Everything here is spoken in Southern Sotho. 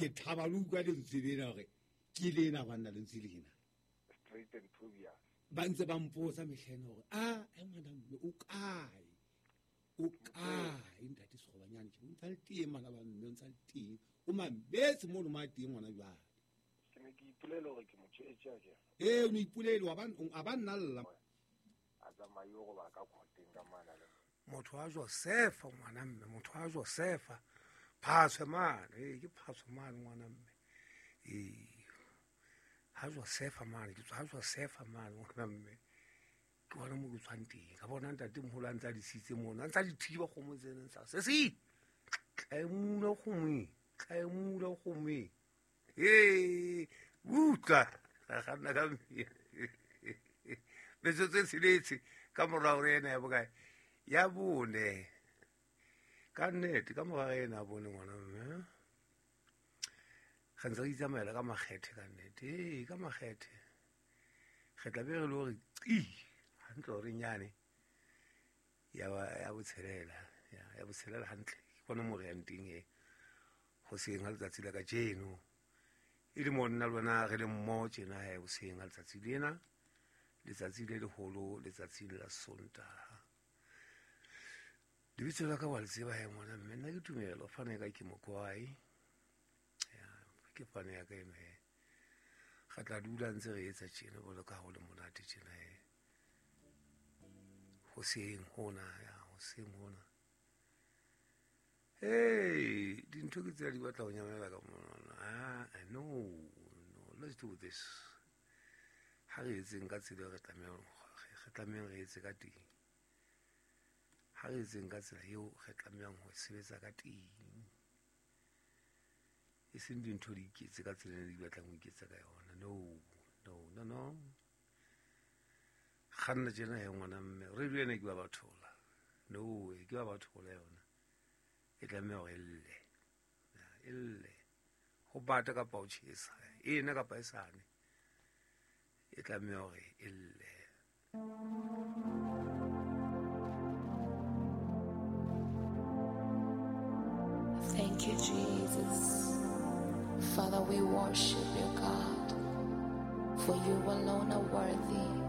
Ke thaba le utlwa lentswe lena gore ke lena banna lentswe lena. Straight and obvious. Ba ntse ba mpotsa mehlena gore a e ngwana mme o kae? O kae ntate Sekgobanyane? Ke o ntsa le teng bana ba mme, o ntsa le teng. O mametse mono mo a teng ngwana jwale. Ke ne ke ipolela gore ke motho e tjea ke. Ee, o ne ipolele, a ba nna lla. A tsamaye go ba ka khoteng ka mana le. Motho wa Josefa ngwana mme, motho wa Josefa. Phaswe mane, ee, ke phaswe mane ngwana mme. Ee. Ha Josefa mane, ke tswa ha Josefa mane ngwana mme. Ke bona mo ke tswang teng. Ka bona ntate moholo a ntse a disitse mono, a ntse a di thiba kgomo tsena, ntse a se se. Tlaemula kgomo e, tlaemula kgomo e. Ee, utlwa, ga ganna ka mme. Metsotso e tsheletse ka morao re ena ya bokae? Ya bone. Ka nnete, ka morao re ena ya bone ngwana mme. Re ntse re itsamaela ka makgethe ka nnete. Ee, ka makgethe. Re tla be re le hore qi, hantle hore nyane ya ba, ya botshelela, ya, ya botshelela hantle. Ke bona mo re yang teng he. Hoseng ha letsatsi la kajeno. E le mo nna le wena re le mmoho tjena he hoseng ha letsatsi lena. Letsatsi le leholo, letsatsi la Sontaha. Lebitso la ka wa le tseba he ngwana mme, nna ke Tumelo, fane ka ke Mokwai. Ya, ke fane ya ka eno he. Re tla dula ntse re etsa tjena jwalo ka ha ho le monate tjena he. Hoseng hona, ya, hoseng hona. Hey, dintho ke tsela di batla ho nyamela ka monwana. Ah, no, no, let's do this. Ha re etseng ka tsela e re tlamehang, re tlamehang re etse ka teng. Ha re etseng ka tsela eo re tlamehang ho sebetsa ka teng. E seng dintho di iketse ka tsela e di batlang ho iketsa ka yona. No, no, no, no. Kganna tjena he ngwana mme, radio ena ke ba bathola. No, ke ba bathola yona. E tlameha hore e lle. E lle. Ho bata kapa ho tjhesa. Ena kapa e sane. E tlameha hore e lle. Thank you, Jesus. Father, we worship you, God, for you alone are worthy.